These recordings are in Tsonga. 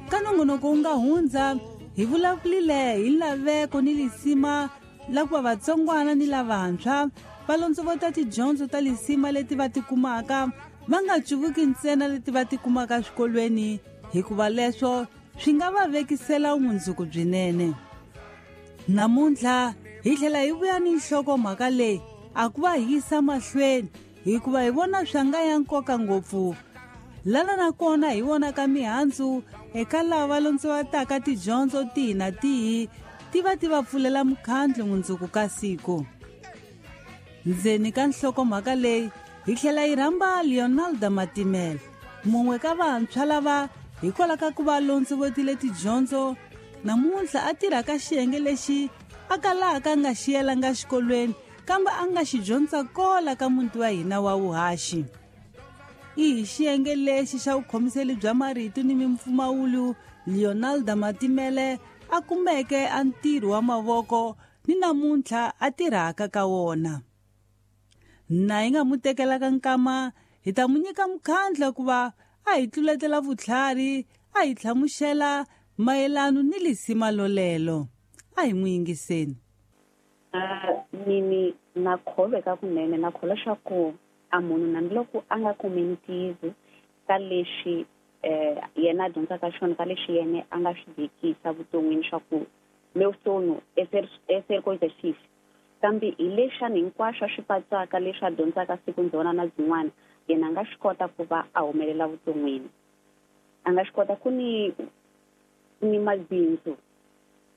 Ka nongonoko wu nga hundza hi vulavulile hi laveko ni lisima la ku va vatsongwana ni lavantshwa va londzovota tidyondzo ta lisima leti va tikumaka va nga cuvuki ntsena leti va tikumaka swikolweni hikuva leswo swi nga va vekisela vumundzuku byinene. Namuntlha hi tlhela hi vuya ni nhlokomhaka leyi a ku va hi yisa mahlweni hikuva hi vona swa nga ya nkoka ngopfu. Lana na kona hi vonaka mihandzu eka lava londzovataka tidyondzo tihi na tihi ti va ti va pfulela mukhandlu mundzuku ka siku. Ndzeni ka nhlokomhaka leyi hi tlhela hi rhamba Leonaldo Matimela, mun'we ka vantshwa lava hikwalaho ka ku va londzovotile tidyondzo namuntlha a tirha ka xiyenge lexi a kalaka a nga xi yelanga xikolweni kambe a nga xi dyondza kola ka muti wa hina wa vuhaxi. I hi xiyenge lexi xa vukhomiseli bya marito ni mimpfumawulo Leonaldo Matimele a kumeke a ntirho wa mavoko ni namuntlha a tirhaka ka wona. Na hi nga mu tekelaka nkama hi ta mu nyika mukhandla ku va a hi tluletela vutlhari a hi hlamuxela mayelano ni lisima lolelo. A hi n'wi yingiseni. Mini na kholweka kunene na kholwa swa ku a munhu nambiloko a nga kumi ntiyiso ka leswi yena a dyondzaka xona ka leswi yena a nga swi vekisa vuton'wini swa ku meu sonho é ser coisa X kambe hi lexani hinkwaswo a swi patsaka leswi a dyondzaka siku ndzona na byin'wana yena a nga swi kota ku va a humelela vuton'wini. A nga swi kota ku ni ni mabindzu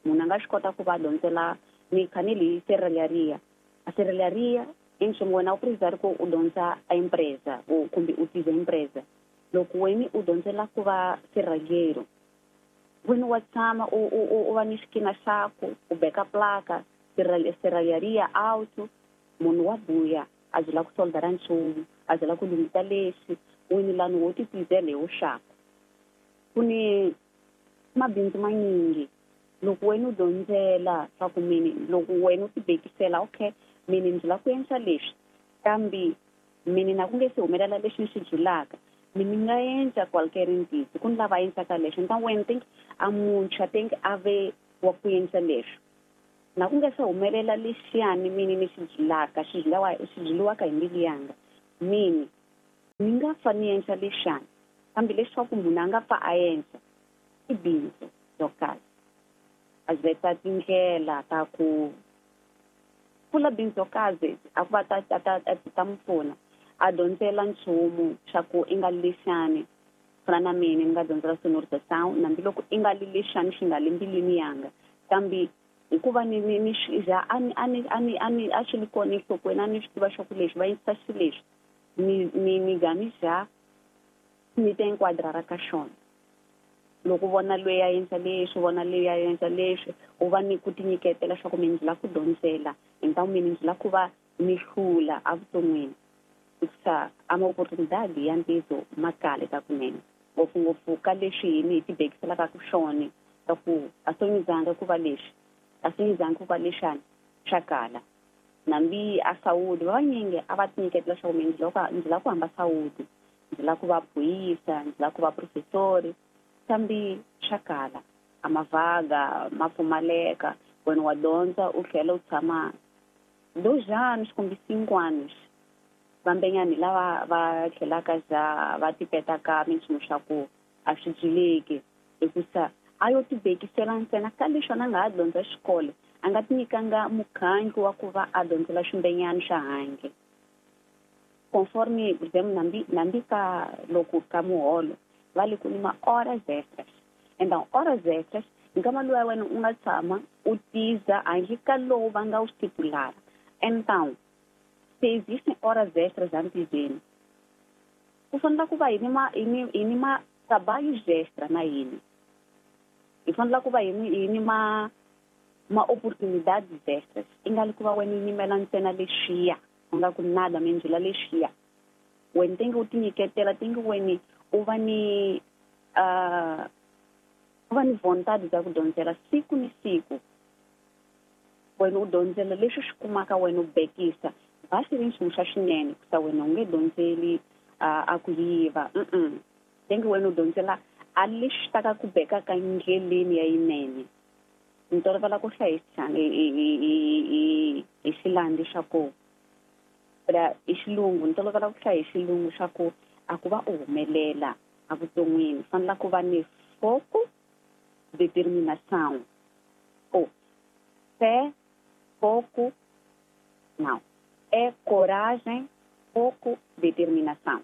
munhu a nga swi kota ku va a dyondzela ni kha ni li serralharia. A serralharia i nchumu wena u precisar ku u dyondza a empresa kumbe u tiza empresa. Loko wena u dyondzela ku va serralheiro wena wa tshama u u u va ni xikina xaku u beka plaka serralharia auto munhu wa buya a byela ku soldara nchumu a byela ku lunghisa leswi wena lani wo ti tizela hi wuxaku. Ku ni mabindzu manyingi loko wena u dyondzela swa ku mini loko wena u ti bekisela okay mini ndzi lava ku endla leswi kambe mini na ku nge se humelela leswi ni swi byulaka mini nga endla qualquer ntiyiso ku ni lava endlaka leswi nta wena think a muntshwa think a ve wa ku endla leswi na ku nge se humelela lexiyani mini ni xi byulaka xi byuliwa xi byuliwaka hi mbilu yanga mini ni nga fa ni endla lexiyani kambe leswaku munhu a nga pfa a endla i bindzu ro karhi a veta tindlela ta ku pfula bindzu ro karhi a ku va ta ta ta ta n'wi pfuna a dyondzela nchumu xa ku i nga lexani fana na mina ni nga dyondzela sonorização hambiloko i nga li lexani xi nga le mbilwini yanga kambe hikuva ni ni ni swi za a ni a ni a ni a ni a swi li kona enhlokweni a ni swi tiva swa ku leswi va endlisa xileswi ni ni ni ga ni za ni ta enquadrara ka xona. Loko u vona loyi a endla leswi u vona loyi a endla leswi u va ni ku tinyiketela swa ku mina ndzi lava ku dyondzela hi mina ndzi lava ku va ni hlula evuton'wini hikusa a ma-oportunidade ya ntiyiso ma kale ka kunene ngopfungopfu ka leswi hini hi tibekiselaka ku swona ka ku a swi ku va leswi a swi ku va lexani swa kala. Nambi a Saudi va vanyingi a va tinyiketela swa ku mina ndzi lava ndzi lava ku hamba Saudi ndzi lava ku va phuyisa ndzi lava ku va professori kambe swa kala a mavaga ma pfumaleka wena wa dyondza u tlhela u tshama 2 anos kumbe 5 anos vambenyani lava va tlhelaka za va tipetaka minchumu swa ku a swi byuleki hikusa a yo tibekisela ntsena ka leswi a nga ha dyondza xikolo a nga ti nyikanga mukhandlu wa ku va a dyondzela swimbenyani swa handle conforme por exemplo nambi nambi ka loko ka muholo va le ku ni ma horas extras então horas extras nkama luwa wena u nga tshama u tiza handle ka lowu va nga wu stipulara. Então se existem horas extras antizeni ku fanele ku va hi ni ma hi ni hi ni ma trabalhos extra na hina hi fanele ku va hi ni hi ni ma ma oportunidades extras i nga li ku va wena u yimela ntsena lexiya u nga ku nada mindzula lexiya wena tingi u tinyiketela tingi wena u va ni u va ni vontade bya ku dyondzela siku ni siku wena u dyondzela leswi swi kumaka wena u bekisa va swi ri nchumu xa swinene kusa wena u nge dyondzeli a ku yiva tingi wena u dyondzela A lexi ta ka ku bekaka ndleleni ya yinene. Ni tolovela ku hlaya hi hi xilandi xa ku hi xilungu, ni tolovela ku hlaya hi xilungu xa ku a ku va u humelela evuton'wini fanela ku va ni foco, determinação. Ou fé, foco, não. É coragem, foco, determinação.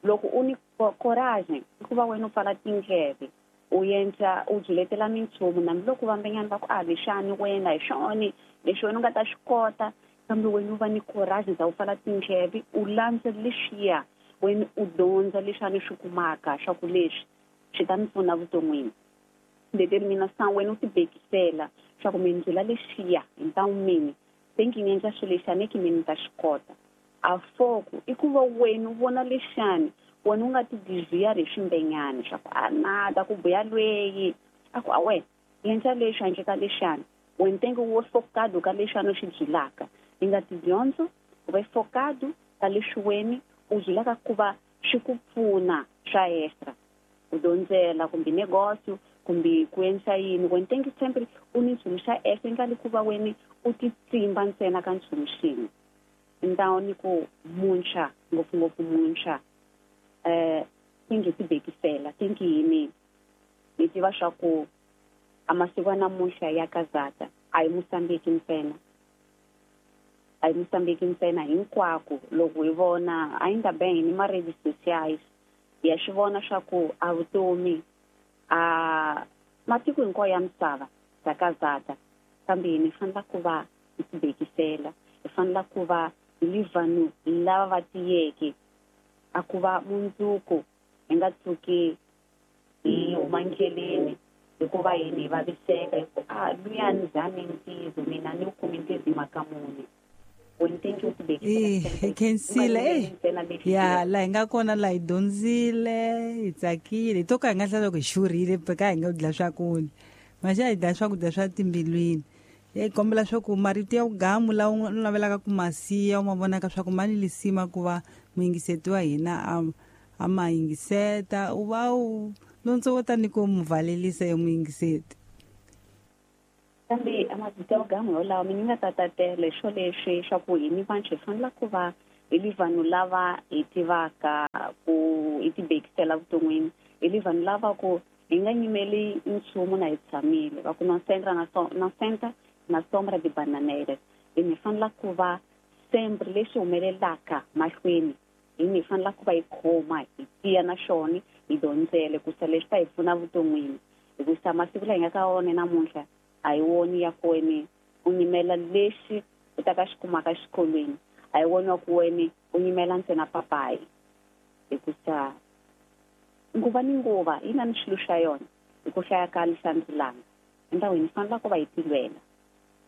Loko u ni coragem, i ku va wena u pfala tindleve, u endla u byiletela minchumu hambiloko vambenyana va ku a lexani wena hi xona lexi wena u nga ta xi kota, kambe wena u va ni coragem za u pfala tindleve u landza lexiya wena u dyondza leswi swi kumaka swa ku leswi swi ta ni pfuna vuton'wini. Determinação wena u ti bekisela swa ku mi ndlula lexiya hi ntamu mini thinking endla swilo lexi a ni ki mi ni ta xi kota. A foco i ku va wena u vona lexani wena u nga ti desviar hi swimbenyana swa ku a nada ku buya lweyi a ku a wena endla leswi handle ka lexani wena tenge wo focado ka lexani u xi byilaka i nga tidyondzo u va focado ka leswi wena u byilaka ku va swi ku pfuna swa extra ku dyondzela kumbe negócio kumbe ku endla yini wena tenge sempre u ni nchumu xa extra i nga li ku va wena u ti tsimba ntsena ka nchumu xin'we. Então ni ku muntshwa ngopfungopfu muntshwa tingi ti bekisela tingi yini ni tiva swa ku a masiku ya namuntlha ya kazata a hi Mozambique ntsena, a hi Mozambique ntsena hinkwako loko hi vona ainda bem ni ma redes sociais ya swi vona swa ku a vutomi a matiko hinkwawo ya misava bya kazata, kambe ni fanela ku va hi ti bekisela, hi fanela ku va hi vanhu lava va tiyeke a ku va mundzuku hi nga tshuki hi huma ndleleni hikuva yini hi vaviseka hi ku a luya ni zami ntizo mina ni wu kumi ntizo hi mhaka muni. Hi khensile ya laha hi nga kona laha hi dyondzile hi tsakile hi to ka hi nga hlaya loko hi xurhile ka hi nga dla swakudya maxa hi dla swakudya swa timbilwini. Hi kombela swa ku marito ya vugamu lawa u navelaka ku ma siya u ma vonaka swa ku ma ni lisima ku va muyingiseti wa hina a ma yingiseta u va u lontsovota ni ku mu valelisa yo muyingiseti. Kambe a mavito ya vugamu yolawo mi ni nga ta tatela hi swo leswi swa ku hi ni vantshwa hi fanela ku va hi li vanhu lava hi tivaka ku hi ti bekisela vuton'wini, hi li vanhu lava ku hi nga nyimeli nchumu na hi tshamile va ku no senta na sombra de bananeiras. Hi ni fanela ku va sempre lexi humelelaka mahlweni hi ni fanela ku va hi khoma hi tiya na xona hi dyondzele ku sa leswi ta hi pfuna vuton'wini hikusa masiku laha hi nga ka wona namuntlha a hi woni ya ku wena u nyimela lexi u ta ka xi kumaka exikolweni, a hi woni wa ku wena u nyimela ntsena papayi hikusa nguva ni nguva yi na ni swilo swa yona hi ku hlaya ka lexandzilanga. Endhawini hi fanela ku va hi tilwela,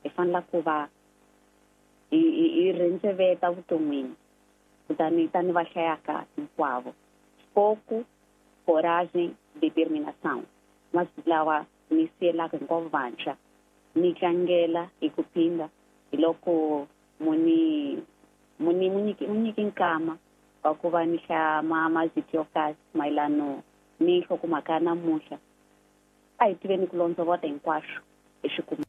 hi fanela ku va hi rhendzeveta vuton'wini kutani tani va hlayaka hinkwavo. Foco, coragem, determinação masiku lawa ni siyelaka hinkwavo vantshwa ni tlangela hi ku phinda hi loko muni muni munyiki nkama wa ku va ni hlaya mazito yo kahle mayelano ni nhlokomhaka ya namuntlha. A hi tiveni ku londzovota hinkwaswo hi swi kuma.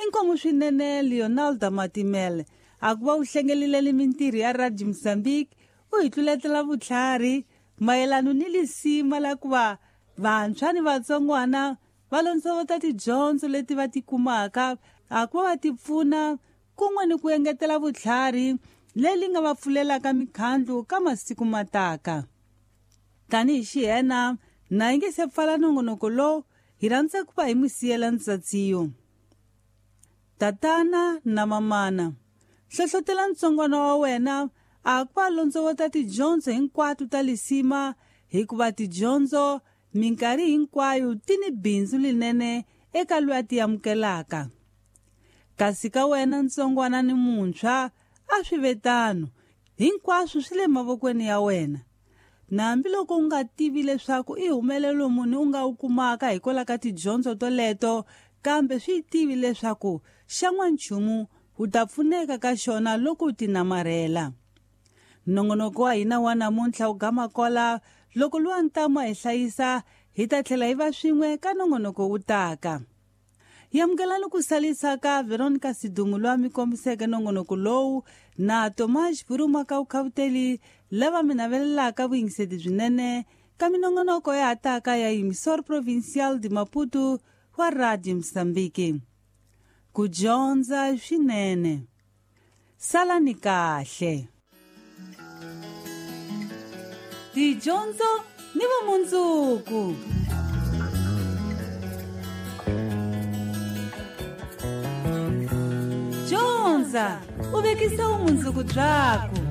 Inkomu swinene Leonardo Matimele a ku va u hlengelile mintirho ya Radio Mozambique u hi tluletela vutlhari mayelano ni lisima la ku va vantshwa ni vatsongwana va londzovota tidyondzo leti va ti kumaka a ku va va ti pfuna kun'we ni ku engetela vutlhari leri nga va pfulelaka mikhandlu ka masiku mataka. Tanihi xihena na yi nge se pfala nongonoko lowu hi rhandza ku va hi mi siyela ntsatsiyo. Tatana na mamana, hlohlotela ntsongwana wa wena a ku va londzovota tidyondzo hinkwato ta lisima hikuva tidyondzo minkarhi hinkwayo ti ni bindzu linene eka loyi a ti amukelaka. Kasi ka wena ntsongwana ni muntshwa a swi ve tano, hinkwaswo swi le mavokweni ya wena. Na hambiloko u nga tivi leswaku i humelelo muni u nga wu kumaka hikwalaho ka tidyondzo toleto, kambe swi tivi leswaku xan'wanchumu u ta pfuneka ka xona loko u ti namarhela. Nongonoko wa hina wa namuntlha wu gama kola Loko luwa ntamu a hi hlayisa, hi ta tlhela hi va swin'we ka nongonoko wu taka. Yamukelani ku salisa ka Veronica Sidumu loyi a mi kombiseke nongonoko lowu na Tomas Buruma ka Vukhavuteli lava mi navelelaka vuyingiseti byinene ka minongonoko ya ha taka ya Emissor Provincial de Maputo wa Radio Mozambique. Ku dyondza swinene. Salani kahle. Tidyondzo ni vumundzuku. Dyondza u vekisa vumundzuku byaku.